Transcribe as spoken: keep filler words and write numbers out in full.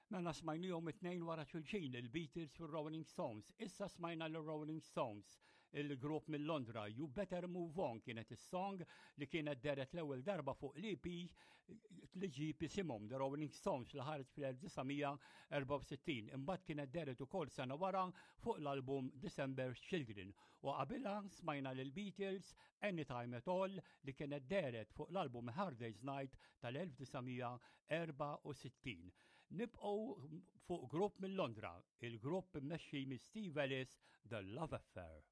Mela smajnihom it-tnejn wara xulxin il-Beatles u Rolling Stones. Issa smajna l-Rolling Stones, il-grupp mill Londra. You Better Move On kienet is-song li kienet dehret l-ewwel darba fuq l-EP li ġib isimhom The Rolling Stones li ħareġ fl-elf disa' mija erbgħa u sittin. Imbagħad kienet dehret ukoll sena wara fuq l-album December Children. U qabilha smajna lil Beatles Anytime at All li kienet dehret fuq l-album Hard Day's Night tal-elf disa' mija erbgħa u sittin. Nibqgħu fuq grupp mill Londra, il-grupp mmexxi minn Steve Ellis, The Love Affair.